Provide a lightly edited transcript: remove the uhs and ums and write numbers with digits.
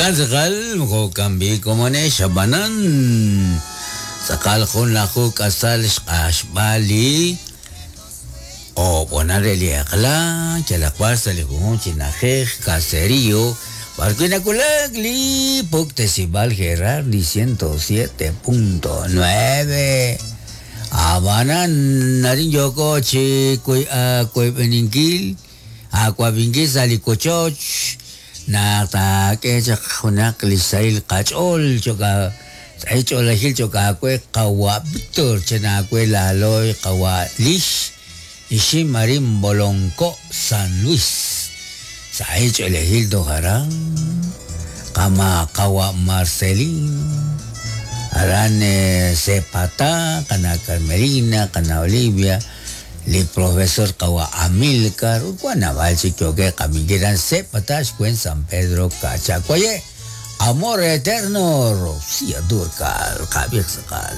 Jo'kan tz'aqal, jo'kan b'i' komonex ab'anan tz'aqal junlaju k'asal xq'axb'al li o'b'onal re li eq'la yalaq b'ar sa' li junjunq chi na'ajej caserío b'arwi' nawulak li puktesib'al Gerardi 107.9. Ab'anan arin yooko chi koyb'eninkil aawab'inkil sa' li wochoch naq taak'e chaq junaq li xsahil qach'ool cho'q sahil ch'oolejil cho'q aawe qawa' Víctor chan aawe laaloy qawa' Lix Ixim arin Bolonko' San Luis sahil ch'oolejil toj aran qama' qawa' Marcelino aran Sepatá qana' Carmelina qana' Olivia li profesor qawa' Amilcar ut wan naab'al chik yookeb' qab'inkil aran Sepatá xweent San Pedro Cachacuaye' Amor Eterno Rocío Dúrcal qab'iiq tz'aqal.